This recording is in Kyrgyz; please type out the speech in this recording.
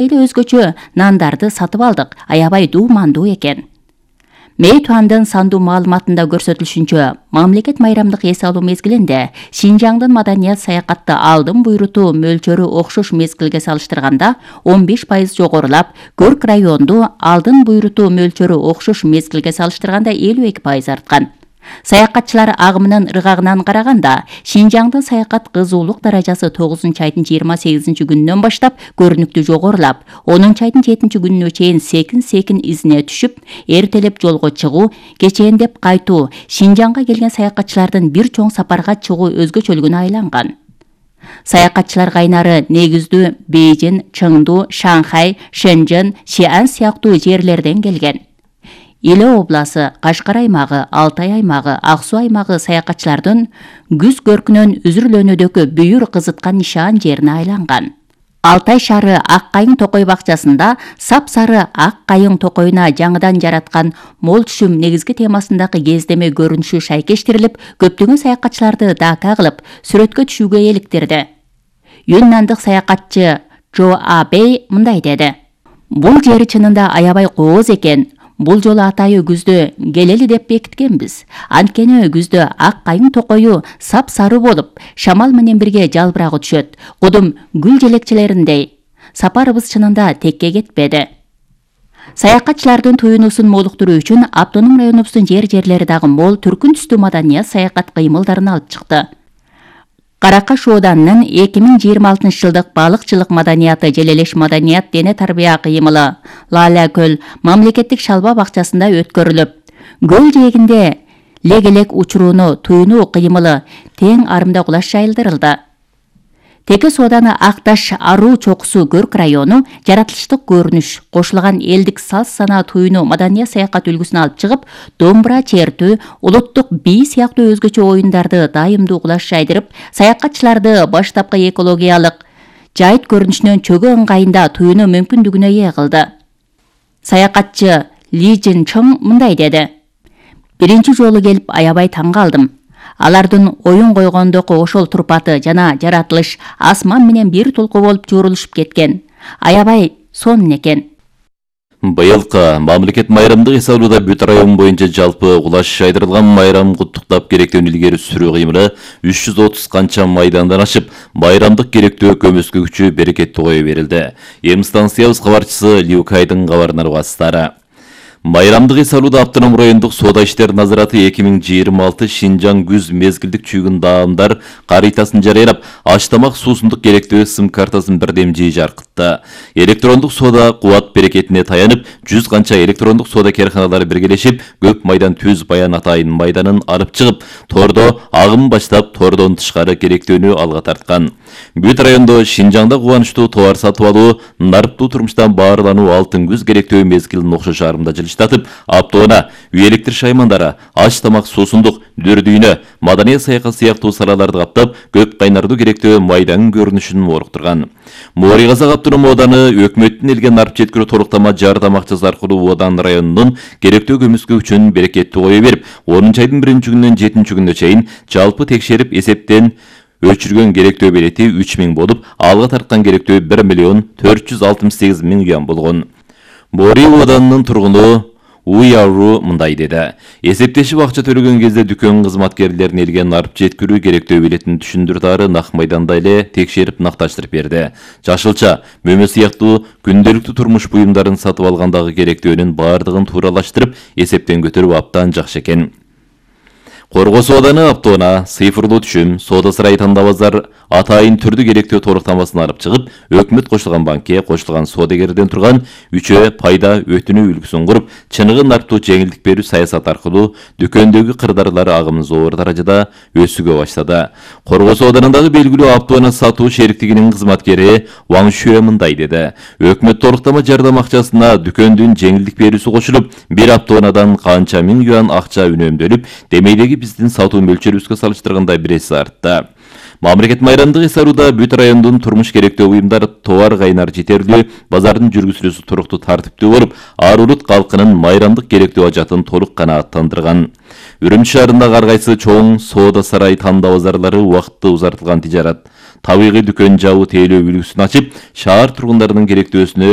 эле өзгөчө нандарды сатып алдык. Аябай дуумандуу экен. Мэйтуандын сандуу маалыматында көрсөтүлүшүнчө, мамлекет майрамдык эс алуу мезгилинде Шинжаңдын маданият саякатты алдын буйрутуу мөлчөрү окшош мезгилге салыштырганда 15% жогорулап, Көрк районду алдын буйрутуу мөлчөрү окшош мезгилге салыштырганда 52% арткан. Саякатчылар агымынын ыргагынан караганда, Шинжаңдын саякат кызуулук даражасы 9-айдын 28-күнүнөн баштап көрүнүктүү жогорулап, 10-айдын 7-күнүнө чейин секин изине түшүп, эртелеп жолго чыгуу, кечээндеп кайтуу Шинжаңга келген саякатчылардын бир чоң сапарга чыгуу өзгөчөлүгүнө айланган. Саякатчылар кайнары негиздүү Бейжин, Чыңду, Шанхай, Шэньчжэн, Сиан сыяктуу жерлерден келген. Иле обласы, Кашкар аймагы, Алтай аймагы, Ак Суу аймагы саякатчылардын күз көркүнөн үзүрүлөнүүдөгү бүйүр кызыткан нишан жерине айланган. Алтай шаары Ак Кайың токой бакчасында сап-сары Ак Кайың токоюна жаңыдан жараткан мол түшүм негизги темасындагы кездеме көрүнүшү шайкештирилип, көптөгөн саякатчыларды дака кылып, сүрөткө түшүүгө эликтирди. Юннандык саякатчы Джо Абей мындай деди: "Бул жери чынында аябай кооз экен. Бул жолу атайы күздө келели деп бекиткенбиз. Анткени күздө Ак Кайың токою сап-сары болуп, шамал менен бирге жалбырагы түшөт, кудум гүл желекчелериндей. Сапарыбыз чынында текке кетпеди." Саякатчылардын туюнуусун молуктуруу үчүн автоном районубуздун жерлери дагы мол түркүн түстүү маданият саякат кыймылдарын алып чыкты. Каракаш ооданынын 2026-жылдык балыкчылык маданияты желелеш маданият дене тарбия кыймылы Лала көл мамлекеттик шалба бакчасында өткөрүлүп, көл жээгинде легелек учурууну туюнуу кыймылы тең арымда кулаш жайылдырылды. Текес ооданы Акташ аруу чокусу Көрк району жаратылыштык көрүнүш, кошулган элдик саз санаа туюнуу маданият саякат үлгүсүн алып чыгып, домбура чертүү, улуттук бий сыяктуу өзгөчө оюндарды дайымдуу кулаш жайдырып, саякатчыларды баштапкы экологиялык жайыт көрүнүшүнөн чөгө ыңгайында туюнуу мүмкүндүгүнө ээ кылды. Саякатчы Ли Жин Чың мындай деди: "Биринчи жолу келип аябай таң калдым. Алардын оюн койгондогу ошол турпаты жана жаратылыш асман менен бир толку болуп жуурулушуп кеткен. Аябай сонун экен." Быйылкы мамлекет майрамдык эс алууда бүт район боюнча жалпы кулаш жайдырылган майрам куттуктап керектөөнү илгери сүрүү кыймылы 330 канча майдандан ашып, майрамдык керектөө көмөскөгүчү берекеттүү кое берилди. Эм станциябыз кабарчысы Liukайдын кабарына ыргасыздары. Майрамдык эс алууда автоном райондук соода иштер назараты 2026 Шинжаң күз мезгилдик чүйгүн даамдар каритасын жарыялап, аш-тамак суусундук керектөө сым картасын бирдем жыйы жаркытты. Электрондук соода кубат берекетине таянып, 100 канча электрондук соода карканалары биргелешип, көп майдан түз баян атайын майданын алып чыгып, тордо агым баштап, тордон тышкары керектөөнү алга тарткан. Бүт райондо Шинжаңда кубанычтуу товар сатып алуу, нарыктуу турмуштан баарлануу алтын күз керектөө мезгилин окшош арымда жылыштатып, аптоона, үй электр шаймандары, аш-тамак суусундук, дүрдүйнө, маданият саякат сыяктуу салаларды каптап, көп кайнардуу керектөө майдан көрүнүшүн оруктурган. Моори Казак автоном ооданы өкмөттүн элге нарып жеткирүү торуктама жардам акчасы аркылуу Оодан районунун керектөө көмүскө үчүн берекеттүү кое берип, 10-айдын 1-күнүнөн 7-күнүнө чейин жалпы текшерип эсептен өчүргөн керектөө белети 3000 болуп, алга тарткан керектөө 1.468.000 юан болгон. Моори ооданынын тургуну Уяру мындай деди: "Эсептешип акча төлөгөн кезде дүкөн кызматкерлерин элге нарып жеткирүү керектөө белетин түшүндүрдары нак майданда эле текшерип накташтырып берди. Жашылча, мөмө сыяктуу күндөлүктүү турмуш буюмдарын сатып алгандагы керектөөнүн баардыгын тууралаштырып, эсептен көтөрүп аптан жакшы экен." Коргос ооданы аптоона, цифрлуу түшүм, соода сарай танда базар атайын түрдүү керектөө торуктамасын алып чыгып, өкмөт кошулган банкке, кошулган соодагерден турган үчөө пайда өтүнүү үлгүсүн куруп, чыныгы нарыктуу жеңилдик берүү саясат аркылуу дүкөндөгү кырдаарлар агымын зор даражада өсүүгө баштады. Коргос ооданындагы белгилүү аптоона сатуу шериктигинин кызматкери Ваң Шуэ мындай деди: "Өкмөт торуктама жардам акчасына дүкөндүн жеңилдик берүүсү кошулуп, бир аптоонадан канча миң юан акча үнөмдөлүп, демейдеги биздин сатуу мөлчөрүбүзгө салыштырганда бир эсе артты." Мамлекет майрамдык эс алууда бүт райондун турмуш керектөө буюмдар товар кайнар жетерлүү, базардын жүргүзүлүүсү туруктуу тартиптүү болуп, ар улут калкынын майрамдык керектөө ажатын толук канааттандырган. Үрүмчү шаарындагы ар кайсы чоң соода сарай танда базарлары убакытты узартылган тижарат, табигый дүкөн жабуу тейлөө үлгүсүн ачып, шаар тургундарынын керектөөсүнө